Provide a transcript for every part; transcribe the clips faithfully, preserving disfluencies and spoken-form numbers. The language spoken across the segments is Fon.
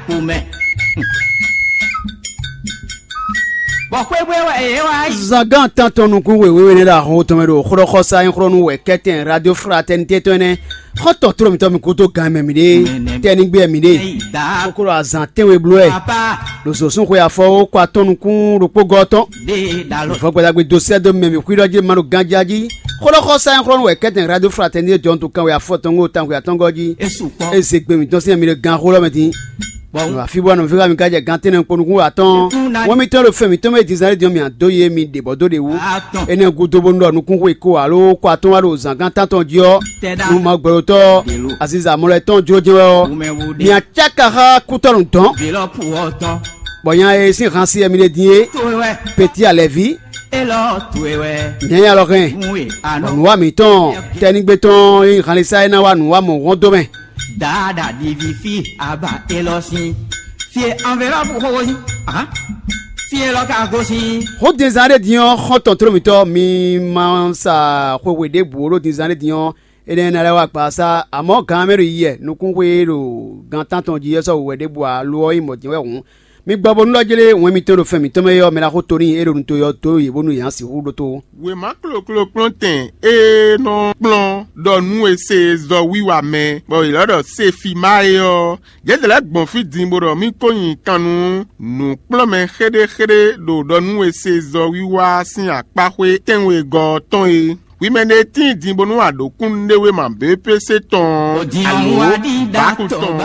Xomɛ. Bɔ xwé bwé wɛ yě wá yi. Zangán tántɔn nukún wěwé nɛ́ ɖo ahɔn tɔn mɛ ɖo xlɔ́xɔsá nyí xlɔ́ nú wɛ kɛ́tɛn Radio Fraternité tɔn ɛnɛ. Xɔ́ntɔn tló mǐtɔn mi kúdó gan mɛ mǐɖée, tɛ́nígbé mǐɖée, kókó ɖo azǎn tɛ́nwe bló wɛ. Ɖo zǒsún xwe afɔ ó kó atɔ́n nukún ɖokpó gɔ́ tɔn. Vɔ gbadagbe dó sɛ́ dó mɛ mǐ xwíɖɔ jí ma ɖo ganjá jí. Xlɔ́xɔsá nyí xlɔ́ nú wɛ kɛ́tɛn Radio Fraternité jɔ́n tó kanwe afɔ tɔn gó tán xwe atɔ́ngɔ́ jí. Eze gbe mǐtɔn sín mi ɖo gan xó lɔ mɛ dín. Bɔ afi bɔ nɔví mi ka jɛ gantɛnɛ kpo nukún atɔn. Wọ́n mi tɔn ɖo fɛn mǐtɔn mɛ dizan ɖé diɔn mǐ adó ye mi ɖe bɔ dó ɖe wú. Énɛ́ gúdo bónú ɖɔ nukún xwe ko alo kó atɔn wá ɖo zǎngán tántɔn jí ɔ́. Nú ma gbɛɖotɔ́ aziza mɔlɛ tɔn jló jɛ́n wɛ ɔ́, mi acáka xá kútɔ́ nǔ dɔn. Bɔ nya e sín han si wɛ mi ɖe din é, Peti alɛví, nyanya lɔ hɛn. Bɔ nǔwa mǐtɔn tɛ́nígbé tɔn e nyí hanlisa é ná wá nǔwa mɔ̌hɔn dó mɛ. Dada divi fi aba elɔ sin. Fie enveloppe xo sin. Aha. Fie lɔ ka go sin. Xó dinzan ɖé din ɔ́, xɔ́ntɔn tló mǐtɔn mi ma sa xwexwe ɖěbǔ ó ɖo dinzan ɖé din ɔ́, énɛ́ ná lɛ́ wá gbasá. Amɔ̌ gan mɛ ɖo yiyɛ nukúnxwe e ɖo gan tántɔn jí ɔ́ sɔ́ wǔwɛ ɖěbǔ ǎ; lo ɔ́ nyí mɔ̌ din wɛ hǔn. Mi gbɔ bónú ɖɔ jlé wɛn mitɔn ɖo fɛn mǐtɔn mɛ é ɔ́, mɛ ná xo to n'i é ɖo nu to ɔ́ dó yě bónú yě ná sixú ɖótó. Wěma kloklo kplɔ́ntɛn e nɔ kplɔ́n ɖɔ nú è se zɔwiwa mɛ, bɔ è lɔ́ ɖɔ Sefima é ɔ́, yědɛɛ lɛ́ɛ gbɔn fí din bó ɖɔ mì ko nyi kan nú nǔkplɔ́nmɛ xéɖéxéɖé ɖo ɖɔ nú è se zɔwiwa sín akpáxwé tɛ́nwegɔ́ ɔ́ tɔn é. Hwi mɛ ɖé tíin din bónú a ɖǒ kúnnuɖewéma B P C tɔn ɔ́, alo bǎku tɔn,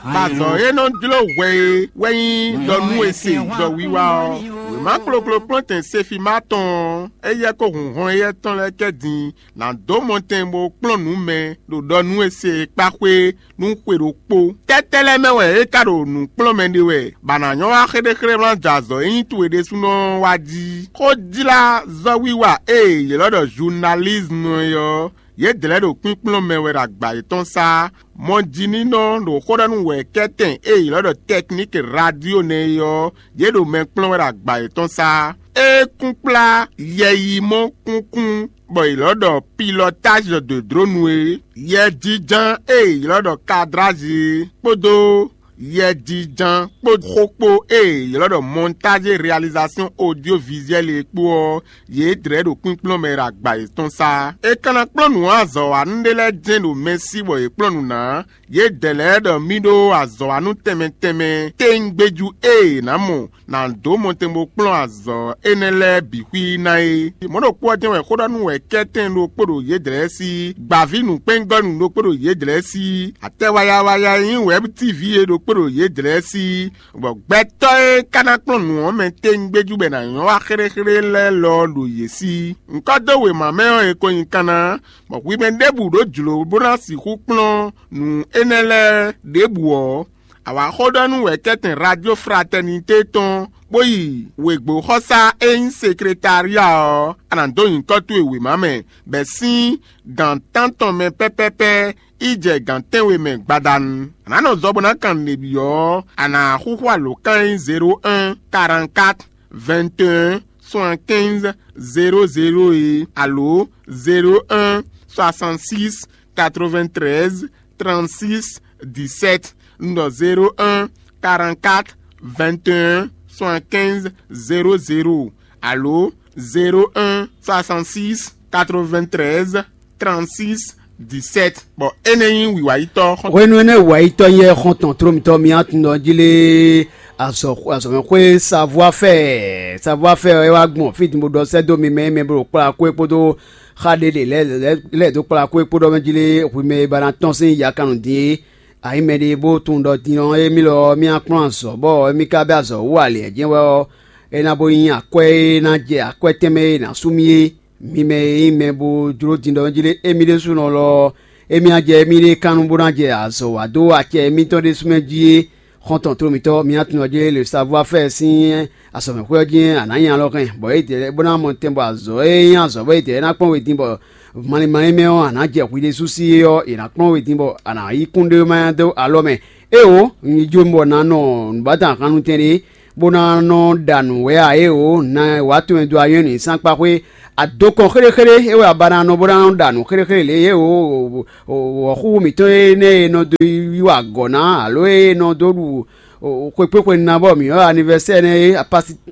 bɔ azɔ̌ e nɔ jló hwɛ é wɛ nyí ɖɔ nú è se zɔwiwa ɔ́. Wěma kloklo kplɔ́ntɛn Sefima tɔn ɔ́, éyɛ́ kó hun hɔn éyɛ́ tɔn lɛ́ɛ kɛ din ná dó mɔtɛn bó kplɔ́n nǔ mɛ ɖo ɖɔ nú è se kpáxwé nú xwe ɖokpó. Tɛ́tɛ́ lɛ́ɛ mɛ wɛ é ka ɖo nǔ kplɔ́n mɛ ɖe wɛ, bɔ a nǎ nyɔ́ wá xéɖéxéɖé wlán jɛ azɔ̌ e nyí towe ɖésúnɔ ɔ́ wá jí? Xójlázɔ́wiwa e è ylɔ́ ɖɔ zunalízmu é ɔ́, yědɛɛ lɛ́ɛ ɖo kpínkplɔ́n mɛ wɛ ɖo agba yětɔn sá. Mɔjínínɔ ɖo xó ɖɔ nú wɛ̌kɛ́tɛn e è ylɔ́ ɖɔ tɛkníki radio nɛ́ é ɔ́, yě ɖo mɛ kplɔ́n wɛ ɖo agba yětɔn sá. É kún kplá yɛyimɔ́ kúnkún bɔ è ylɔ́ ɖɔ pilɔtázi de dronu é, yɛjínján e è ylɔ́ ɖɔ kadrázi é, kpódó yɛjínján kpó xó kpó e è ylɔ́ ɖɔ mɔntázi réalizasɔ́n odyovizuɛ́li é kpó ɔ́, yě dlɛ̌ ɖo kpínkplɔ́n mɛ ɖo agba yětɔn sá. È ka ná kplɔ́n nǔ azɔ̌wanú ɖé lɛ́ɛ jɛ́n ɖo mɛ sí bɔ yě kplɔ́n nǔ ná. Yědɛɛ lɛ́ɛ ɖɔ mì ɖó azɔ̌wanú tɛnmɛ tɛnmɛ téŋgbéjú e è nǎ mɔ ná dó mɔtɛn bó kplɔ́n azɔ̌ énɛ́ lɛ́ɛ bǐ xwí ná é. Mɔ̌ ɖokpó ɔ́ jɛ́n wɛ xó ɖɔ nú wɛ̌kɛ́tɛn ɖokpó ɖo yědɛɛ sí, gbǎví nǔkpɛ́ngɔ́nú ɖokpó ɖo yědɛɛ sí, atɛ wayawaya e nyí Wɛ̌b T V é ɖokpó ɖo yědɛɛ sí, bɔ gbɛtɔ́ e ka ná kplɔ́n nǔ ɔ́ mɛ téŋgbéjú bɔ è nǎ nyɔ́ wá xéɖéxéɖé lɛ́ɛ lɔ ɔ́ ɖo yě sí. Ŋkɔ́ dó wěma mɛ ɔ́, è ko nyi kanna, bɔ hwi mɛ ɖěbǔ ɖó jlǒ bó ná sixú kplɔ́n nǔ énɛ́ lɛ́ɛ ɖěbǔ ɔ́, a wǎ xó ɖɔ nú wɛ̌kɛ́tɛn Radio Fraternité tɔn, bó yi wěgbóxɔsá e nyí sekretária ɔ́, a nǎ dó nyǐkɔ towe wěma mɛ, bɔ è sín gǎn tántɔn mɛ pɛ́pɛ́pɛ́ yi jɛ gǎn tɛ́nwe mɛ gbadanu. A nǎ nɔ zɔ bó ná kan nǔɖé byɔ́ ɔ́, a nǎ xúxú alǒkan e nyí zéro un, quarante-quatre, vingt et un, soixante-quinze, zéro zéro é, alo zéro un, soixante-six, quatre-vingt-treize, trente-six, dix-sept. Un ɖɔ zéro un, quarante-quatre, vingt et un, soixante-quinze, zéro zéro, alo zéro un, soixante-six, quatre-vingt-treize, trente-six, dix-sept. Bɔ énɛ́ nyí wǐwayítɔ́ xɔ́ntɔn. Hwenu énɛ́ wǐwayítɔ́ nyí xɔ́ntɔn tló mitɔn mì atundɔ jí lé azɔ̌ azɔ̌mɛxwé savoir-faire. Savoir-faire ɔ́ é wá gbɔn fí din bó ɖɔ sɛ́ dó mi mɛ e mɛ bó ɖo kplá kó é kpódó xa ɖé ɖe lɛ́ɛ lɛ́ɛ dó kplá kó é kpódó mɛ jí lé hwi mɛ e ba ná tɔ́n sín yakannú din é. Ayi mɛ ɖé bó tunwun ɖɔ din ɔ́ émí lɔ ɔ́ mì akplɔ́n azɔ̌ bɔ émí ka bɛ́ azɔ̌ wú alě jɛ́n wɛ ɔ́, é ná bó nyí akwɛ́ e ná jɛ akwɛ́ tɛnmɛ e è nǎ sú mì é. Mi mɛ e nyí mɛ bó jló din ɖɔ jí lé émí ɖésúnɔ lɔ ɔ́, émí ná jɛ émí ɖée kan nú bó ná jɛ azɔ̌ wa dó acɛ émítɔn ɖésú mɛ jí é. Xɔ́ntɔn tló mitɔ́, mi ná tunwun jí lé le savoir-faire sín azɔ̌mɛxwé ɔ́ jí a nǎ nyi alɔ hɛn, bɔ é dɛ̌ bó ná mɔ tɛn bɔ azɔ̌ e nyí azɔ̌ bɔ é dɛ̌ ná kpɔ́n we din bɔ malín malín mɛ ɔ́, a nǎ jɛ hwi ɖésú sí é ɔ́, è nǎ kplɔ́n we din bɔ a nǎ yí kúnɖéwéma dó alɔ mɛ. Éeǒ, un yi jó bɔ ná nɔ nǔbátɔn ahannutɛn ɖé, bó ná nɔ ɖa nǔ wɛ ǎ. Éeǒ, na wǎ tunwun do anyɔ́ nǔnyisánkpaxwé. Adokɔn xéɖéxéɖé é wɛ a ba ná nɔ bó ná nɔ ɖa nǔ xéɖéxéɖé lě e éeǒ, wɔ̌xúxú mǐtɔn énɛ́ e nɔ dó yí wa agɔ̌ ná alo e nɔ dó ɖu Xwekpéxwe ná bɔ mǐ ɔ́ anivɛsɛ́ nɛ́ é,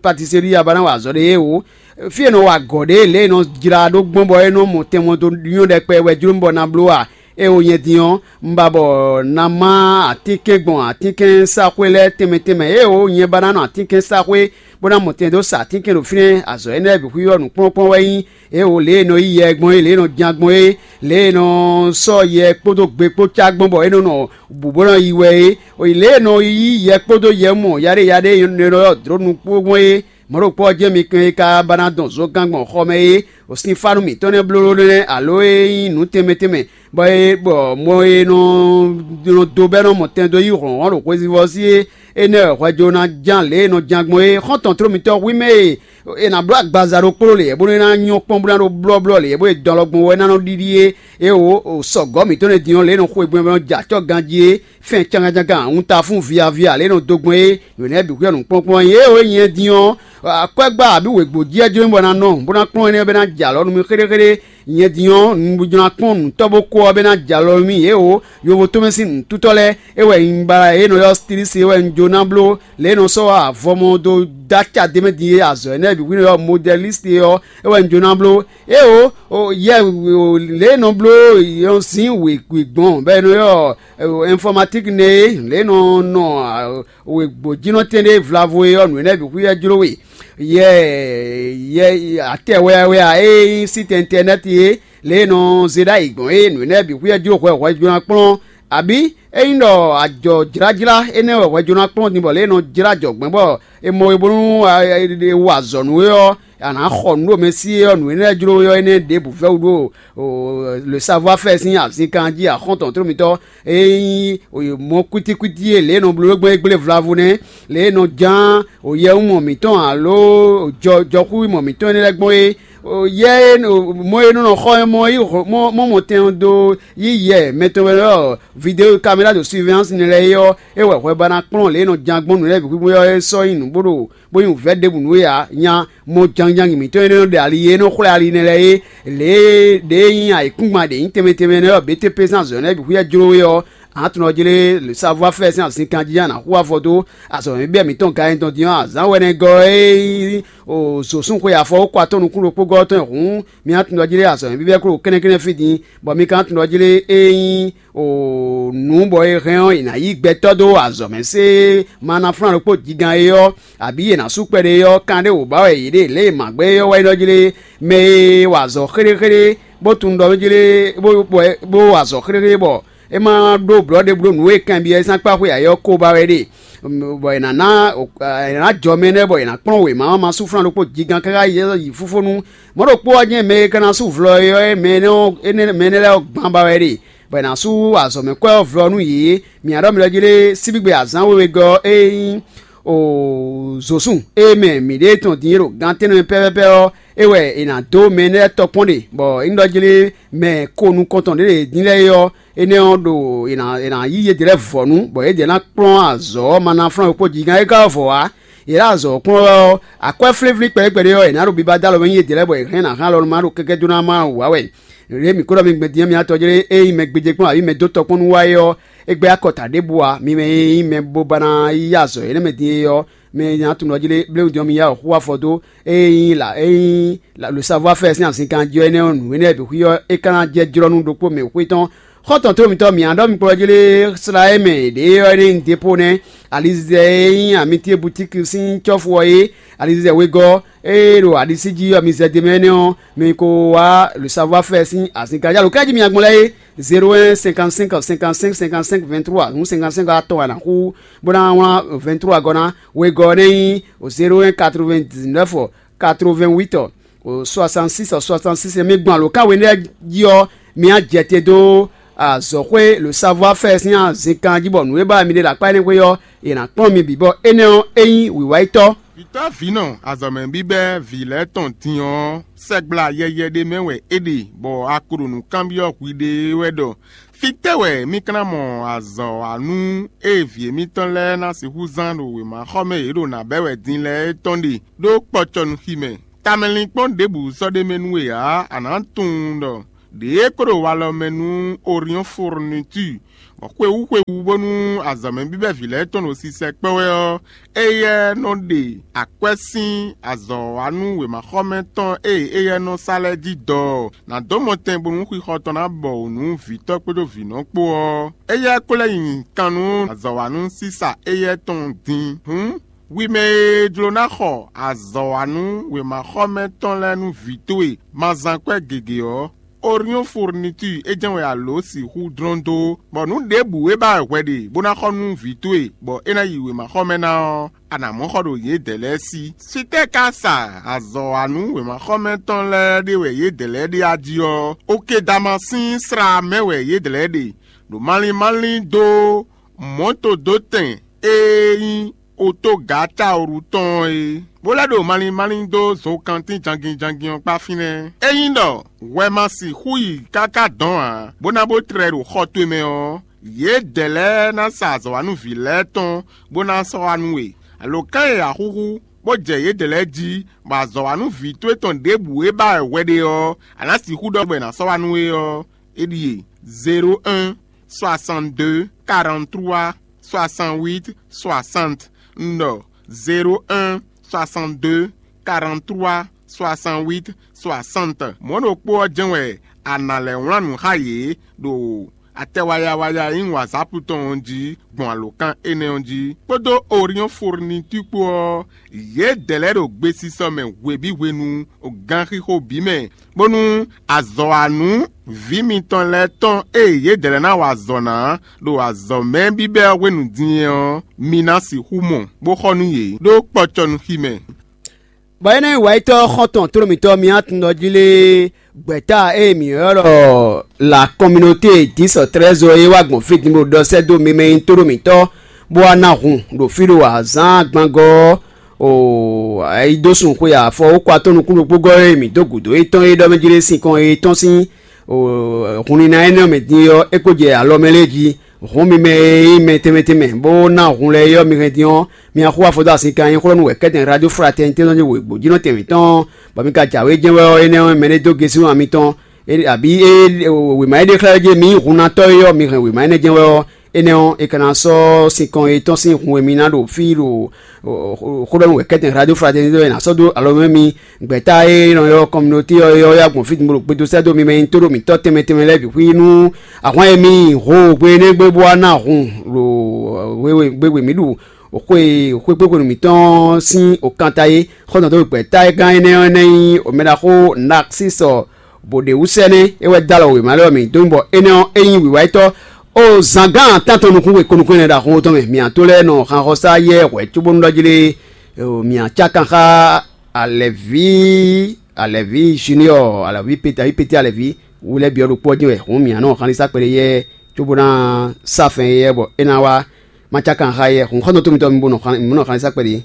patiserí aba ná wa azɔ̌ ɖé é o. Fí e nɔ wa agɔ̌ ɖe lě e nɔ jlá ɖó gbɔn bɔ é nɔ mɔ tɛnmɔ dó nyɔ́ ɖɛkpɛ wɛ jló bɔ ná bló a? É o nyɛ din ɔ́, un ba bɔ ná má atínkɛn gbɔn atínkɛnsaxwé lɛ́ɛ tɛnmɛ tɛnmɛ. É o nyɛ ba ná nɔ atínkɛnsaxwé bó ná mɔ tɛn dó sa atínkɛn ɖo fínɛ́. Azɔ̌ énɛ́ lɛ́ɛ bǐ xwíxwɛ́ nǔkplɔ́nkplɔ́n wɛ nyí é o, lě e nɔ yí yɛ gbɔn é, lě e nɔ jan gbɔn é, lě e nɔ sɔ́ yɛ kpódó gbe kpó cá gbɔn bɔ é nɔ nɔ bǔ bó nɔ yi wɛ é. Lě e nɔ yí yɛ kpódó yɛ mɔ yaɖéyaɖé e nɔ ylɔ́ dlǒ nukpó gbɔn é, mɔ̌ ɖokpó ɔ́ jɛ́n mi kɛn e ka ba ná dɔn zogán gbɔn xɔ mɛ é, o sinfánu mǐtɔn nɛ́ bló nɛ́ alo e nyí nǔ tɛnmɛ tɛnmɛ, bɔ é bɔ mɔ e nɔ nɔ dó bɛ́ nɔ mɔ tɛn dó yí hlɔ̌nhlɔ́n ɖo hwezivɔ́ sí é, énɛ́ wɛ hwɛjó ná ján lě e nɔ ján gbɔn é. Xɔ́ntɔn tló mǐtɔn hwí mɛ e è nǎ bló agbaza ɖokpó ɖo lě bónú é ná nyɔ́ kpɔ́n bó ná ɖó blɔ́blɔ́ lě bó e dɔn alɔgbɔn wɛ ná nɔ ɖiɖi é. É o, sɔgɔ̌ mǐtɔn lɛ́ɛ din ɔ́, lě e nɔ xweyǐgbe ɔ́ nɔ jɛ acɔ́ ganjí é, fɛn cangán cangán, awunta fún viavi ǎ lě e nɔ dó gbɔn é. Nǔ énɛ́ bǐ xwíxwɛ́ nǔkplɔ́nkplɔ́n nyi é o, é nyɛ din ɔ́, akwɛ́gbá abǐ wěgbó jí wɛ jló bɔ ná nɔ bó ná kplɔ́n énɛ́ bɔ é ná jɛ alɔ nú mì xéɖéxéɖé. Nyɛ din ɔ́, un jló ná kplɔ́n nǔtɔ́ bó kó ɔ́ bɔ é ná jɛ alɔ nú mì é o. Yovo tɔn mɛ sín nǔtútɔ́ lɛ́ɛ é wɛ un ba é nɔ ylɔ́ stilísi é wɛ un jló ná bló lě e nɔ sɔ́ avɔmɔ dó dó aca d'é mɛ din é. Azɔ̌ énɛ́ bǐ xwíxwɛ́ ɔ́, modɛlísi ɔ́ é wɛ un jló ná bló. Éeǒ, yɛ lě e nɔ bló yɔnzín wěkwín gbɔn bɔ è nɔ ylɔ́ ɛnfɔmatíki nɛ́ é, lě e nɔ nɔ wěgbójínɔtɛn ɖé vlavo é ɔ́, nǔ énɛ́ bǐ xwíxwɛ́ jló we. Yɛ yɛ atɛ wɛ́wɛ́ ǎ, e nyí síte ɛntɛnɛ́ti é, lě e nɔ zé ɖ'ayǐ gbɔn é, nǔ énɛ́ bǐ xwíxwɛ́ jló hwɛ hwɛ jló ná kplɔ́n. Abǐ ényí ɖɔ ajɔ jlájlá énɛ́ wɛ hwɛ jló ná kplɔ́n din bɔ lě e nɔ jlá jɔ gbɛ̌ bɔ è mɔ we bónú è wa azɔ̌ nú we ɔ́, a nǎ xɔ nǔ ɖo mɛ sí é ɔ́, nǔ énɛ́ jló we ɔ́ énɛ́ ɖěbǔ vɛ́wú ɖó le savoir-faire sín azǐnkan jí axɔ́ntɔn tló mitɔ́. Ényí mɔ kwítíkwítí e lě e nɔ bló gbɔn é gblé vlavo nɛ́, lě e nɔ ján yɛwúmɔ mǐtɔn alo jɔxúmɔ mǐtɔn énɛ́ lɛ́ɛ gbɔn é, yɛ e mɔ e nɔ nɔ xɔ mɔ yi mɔ mɔ tɛn dó yí yɛ mɛ tɔn wɛ ɖɔ vidéo caméra de surveillance nɛ lɛ́ɛ é ɔ́, é wɛ hwɛ ba ná kplɔ́n lě e nɔ ján gbɔn nǔ lɛ́ɛ bǐ xwíxwí ɔ́ é sɔ́ nyí nǔ bó ɖo bó nyí wǔvɛ́ ɖěbǔ nú we ǎ. Nya mɔ jangjangi mǐtɔn e nɔ ɖe ali e nɔ xwlɛ́ ali nɛ́ lɛ́ɛ é, lě e ɖě e nyí ayǐkúngban ɖě nyí tɛnmɛ tɛnmɛ nɛ́ ɔ́, B T P sín azɔ̌ nɛ́ bǐ xwíxwɛ́ jló we ɔ́, a nǎ tunwun ɔ́ jlé le savoir-faire sín azǐnkan jí a nǎ hu afɔ dó azɔ̌mɛbíbɛ́ mǐtɔn gayɛntɔn din ɔ́, azǎn wɛnɛgɔ́ e nyí zǒsúnxwe afɔwúkɔ atɔ́ nukún ɖokpógɔ́ ɔ́ tɔn hǔn, mi ná tunwun ɔ́ jlé azɔ̌mɛbíbɛ́ kó ɖo kɛ́nɛ́kɛ́nɛ́ fí din, bɔ mi ka ná tunwun ɔ́ jlé e nyí nǔ bɔ è hɛn ɔ́, è nǎ yí gbɛtɔ́ dó azɔ̌ mɛ sé manaflán ɖokpó jigán é ɔ́, abǐ è nǎ sú kpɛɖé é ɔ́, kan ɖé wǒ ba wɛ yě ɖe lě e mǎgbɛ́ é ɔ́ wɛ nyí ɖɔ jlé mɛ e wa azɔ̌ xéɖéxéɖé bó tunwun ɖɔ jlé bó bó wa azɔ̌ xéɖéxéɖé bɔ é ma ɖó blɔ̌ ɖěbǔ ɖo nǔ e kanbyɔ́ e sín akpá xwe ayɔ́ ko ba wɛ ɖe, bɔ è nǎ ná è nǎ jɔ mɛ énɛ́ bɔ è nǎ kplɔ́n wěma ɔ́ ma sú flán ɖokpó jigán káká yi yi fúfónu. Mɔ̌ ɖokpó ɔ́ jɛ́n mɛ e ka ná sú vlɔ é ɔ́, mɛ énɛ́ ɔ́ énɛ́ mɛ énɛ́ lɛ́ɛ ɔ́ gbán ba wɛ ɖe, bɔ è nǎ sú azɔ̌mɛkwɛ́ ɔ́ vlɔ nú yě. Mǐ ɖɔ mi ɖɔ jí lé síbígbe azǎn wewegɔ́ ɔ́ e nyí zǒsún e mɛ mǐɖée tɔn din e ɖo gan tɛ́nnɛ mɛ pɛ́pɛ́pɛ́ ɔ́, é wɛ è nǎ dó mɛ énɛ́ lɛ́ɛ tɔkpɔ́n ɖe, bɔ é nyí ɖɔ jí lé mɛ ko nukɔntɔn ɖě ɖě din lɛ́ɛ é ɔ́, énɛ́ ɔ́ ɖo è nǎ è nǎ yí yědɛɛ lɛ́ɛ vɔ̌ nú, bɔ yědɛɛ ná kplɔ́n azɔ̌ ɔ́ ma ná flán wekpó jǐgán é ka ɔ́ vɔ̌ ǎ. Yě ɖo azɔ̌ ɔ́ kplɔ́n wɛ ɔ́, akwɛ́ flínflín kpɛɖékpɛɖé ɔ́, è nǎ ɖo biba dó alɔ mɛ nyi yědɛɛ lɛ́ɛ bɔ è hɛn nǎ hɛn alɔ nú má ɖo kɛ́kɛ́ dó ná má wǎ wɛ. Lě e mǐ ko ɖɔ mi gbɛn din ɔ́, mi ná tɔjú lé ényí mɛ gbéjé kpɔ́n abǐ mɛ dó tɔkpɔ́n nú wá é ɔ́, é gbɛ́ akɔta ɖěbǔ ǎ. Mi mɛ e nyí mɛ bo ba ná yí azɔ̌ énɛ́ mɛ din é ɔ́, mɛ nya tunwun ɔ́ jí lé bléwun din ɔ́, mi yá wɔ xú afɔ dó. Ényí la ényí le savoir-faire sín azǐnkan jí ɔ́, énɛ́ ɔ́, nǔ énɛ́ bǐ xwí ɔ́, é ka ná jɛ jlɔ́ nú ɖokpó mɛ xwé tɔn. Xɔ́ntɔn tló mǐtɔn mǐ ná ɖɔ mi kplɔ́ jí lé slá e mɛ ɖě ɔ́, énɛ́ nyí depo nɛ́. Alizizɛ e nyí amitié butíki sín cɔ́fu ɔ́ é, alizizɛ wegɔ́ e ɖo aɖisí jí ɔ́, mi zɛ d'é mɛ énɛ́ ɔ́, mi ko wá le savoir-faire sín azǐnkan jí. Alǒ ká jí mi agbɔn lɛ́ɛ é, zéro un cinquante cinq cinquante cinq cinquante cinq vingt trois, hǔn cinquante cinq atɔn wɛ a nǎ xú bó ná wlán vingt trois gɔ́ ná. Wegɔ́ ɔ́ nɛ́ nyí zéro un quatre vingt dix neuf quatre vingt huit soixante six soixante six. Mi gbɔn alǒkan we lɛ́ɛ jí ɔ́, mi á jɛ te dó azɔ̌xwé le savoir-faire sín azǐnkan jí bɔ nǔ e ba mi ɖe ɖo akpá énɛ́ xwé ɔ́, è nǎ kplɔ́n mi bǐ bɔ énɛ́ ɔ́, é nyí wǐwáyítɔ́. Vǐtɔ́ vǐnɔ azɔ̌mɛ bíbɛ́ vǐ lɛ́ɛ tɔn din ɔ́, sɛgbla yɛyɛ ɖé mɛ wɛ é ɖe, bɔ a ko ɖo nǔ kanbyɔ́ hwi ɖe wɛ ɖɔ: Fítɛ́ wɛ mì ka ná mɔ azɔ̌ wa nú ée vǐ émítɔn lɛ́ɛ ná sixú zán ɖo wěmaxɔmɛ e yě ɖo nǎ bɛ́ wɛ din lɛ́ɛ é tɔn ɖe ɖó kpɔcɔnuxi mɛ? Tamɛlinkpɔ́n ɖěbǔ sɔ́ ɖ'é mɛ nú we ǎ; a nǎ tunwun ɖɔ ɖě e ko ɖo walɔ mɛ nú Oriɔ́n Fourniture xwewú xwewú bónú azɔ̌mɛ bíbɛ́ vǐ lɛ́ɛ tɔn ɖo sisɛ kpɛ́ wɛ ɔ́, éyɛ́ nɔ ɖe akwɛ́ sín azɔ̌wanú wěmaxɔmɛ tɔn e éyɛ́ nɔ sa lɛ́ɛ jí dɔ ɔ́, nǎ dó mɔtɛn bónú xixɔ tɔn ná bɔ wǔ nú vǐtɔ́ kpódó vǐnɔ kpó ɔ́, éyɛ́ ko lɛ́ nyi kan nú azɔ̌wanú sísa éyɛ́ tɔn din. Hǔn, wi mɛ e jló ná xɔ azɔ̌wanú wěmaxɔmɛ tɔn lɛ́ɛ nú vǐ towe ma zán kwɛ́ gěgé ɔ́, Orion Fourniture é jɛ́n wɛ a lǒ sixú dlɔ́n dó, bɔ nǔ ɖěbǔ e ba wɛ hwɛ ɖe bó ná xɔ nú vǐ towe, bɔ é ná yi wěmaxɔmɛ ná ɔ́, a nǎ mɔ xɔ ɖo yědɛɛ lɛ́ɛ sí. Fítɛ́ ka sa azɔ̌wanú wěmaxɔmɛ tɔn lɛ́ɛ ɖe wɛ yědɛɛ lɛ́ɛ ɖe a jí ɔ́, Okedama sín slá mɛ wɛ yědɛɛ lɛ́ɛ ɖe, ɖo malín málín dó mɔ̌todótɛn e nyí otogacaoru tɔn ɔ́ é, bó lɛ́ ɖo malín málín dó zokantín jangin jangin ɔ́ kpá fínɛ́. Ényí ɖɔ hwɛ ma sixú yi káká dɔ̌n ǎ, bó ná bó tlɛ ɖo xɔ towe mɛ ɔ́, yědɛɛ lɛ́ɛ ná sa azɔ̌wanúvǐ lɛ́ɛ tɔn bó ná sɔ́ wá nú we. Alǒkan e a xúxú, bó jɛ yědɛɛ lɛ́ɛ jí, bɔ azɔ̌wanúvǐ towe tɔn ɖěbǔ e ba wɛ hwɛ ɖe ɔ́, a nǎ sixú ɖɔ bɔ è nǎ sɔ́ wá nú we ɔ́, é ɖíe: zéro un, soixante-deux, quarante-trois, soixante-huit, soixante. Un ɖɔ: zéro un, soixante-deux, quarante-trois, soixante-huit, soixante. Mɔ̌ ɖokpó ɔ́ jɛ́n wɛ a nǎ lɛ́ wlán nǔ xá yě ɖo atɛ wayawaya e nyí WhatsApp tɔn ɔ́ jí gbɔn alǒkan énɛ́ ɔ́ jí, kpódó Orion Fourniture kpó ɔ́, yědɛɛ lɛ́ɛ ɖo gbesisɔ mɛ hwebǐ hwenu, ganxixo bǐ mɛ, bónú azɔ̌wanú vǐ mitɔn lɛ́ɛ tɔn e yědɛɛ lɛ́ɛ ná wa azɔ̌ ná ɖo azɔ̌mɛ bíbɛ́ ɔ́ hwenu din ɔ́, mi ná sixú mɔ, bó xɔ nú yě ɖó kpɔcɔnúxi mɛ. Bɔ énɛ́ nyí wǎyítɔ́ xɔ́ntɔn tlóló mǐtɔn Miatundɔjí lé gbɛ̌ta e mǐ ylɔ́ ɖɔ la communauté dix treize é wá gbɔn fí din bó ɖɔ sɛ́ dó mi mɛ e nyí tóɖó mǐtɔn, bó wá ná hun ɖo fí ɖo azǎn gbangɔ́ ɔ́, o ayi dó sun xwe afɔ wókɔ atɔ́ nukún ɖokpó gɔ́ e mǐ dó gǔdo étɔn é ɖɔ mɛ jí lé sinkɔn e tɔn sín hunlina énɛ́ ɔ́ mɛ din ɔ́, é ko jɛ alɔ mɛ lɛ́ɛ jí. Hǔn mi mɛ e nyí mɛ tɛnmɛ tɛnmɛ, bó ná hun lɛ́ɛ é ɔ́, mi hɛn din ɔ́, mi axú afɔ dó asin kan nyí xlɔ́nú wɛ kɛ́tɛn Radio Fraternité tɔn wěgbó jínɔ tɛn mǐtɔn, bɔ mi ka jǎwe jɛ́n wɛ ɔ́, énɛ́ ɔ́, mɛ ɖé dó gésú wan mitɔn, abǐ wěma e ɖe xlɛ́ jí mi nyí hunnatɔ́ é ɔ́, mi hɛn wěma énɛ́ jɛ́n wɛ ɔ́, énɛ́ ɔ́, è ka ná sɔ́ sinkɔn e tɔ́n sín hun e mi ná ɖo fí ɖo xó ɖɔ nú wɛ kɛ́tɛn Radio Fraternité ɔ́, è nǎ sɔ́ dó alɔ mɛ mi. Gbɛ̌ta e nɔ ylɔ́ communauté ɔ́ é ɔ́ yá gbɔn fí din bó ɖo gbedo sɛ́ dó mi mɛ nyí tóɖó mǐtɔn tɛnmɛ tɛnmɛ lɛ́ɛ bǐ xwí nú ahwan e mi ho hwe énɛ́ gbe bó wá ná hun ɖo hwe gbe mǐ ɖu xwe xwekpéxwenu mǐtɔn sín okanta é. Xɔ́ntɔn dó gbɛ̌ta e gán énɛ́ ɔ́, énɛ́ nyí omɛɖaxó Naxísɔ bó ɖe wú sɛ́ nɛ́, é wɛ dó alɔ wěma lɛ́ɛ ɔ́ mǐ dó bɔ énɛ́ ɔ́, é nyí wǐwá yětɔn o zǎngán atán tɔn nukún we ko nukún ɛnɛ ɖo axɔ́ tɔn mɛ. Mǐ to lɛ́ɛ nɔ xanxɔsá yɛ hwɛ̌ cóbónú ɖɔ jí lé, mǐ cá kan xá Alɛ̌ví, Alɛ̌ví Junior, Alɛ̌ví Pété, Pété Alɛ̌ví wú lɛ́ɛ byɔ́ ɖokpó ɔ́ jɛ́n wɛ hǔn mǐ nɔ xan ní sá kpɛɖé yɛ cóbó ná sá fɛn yɛ bɔ é ná wá. Ma cá kan xá yɛ hǔn xɔ́ntɔn tó mitɔn mi bó nɔ xan ní sá kpɛɖé.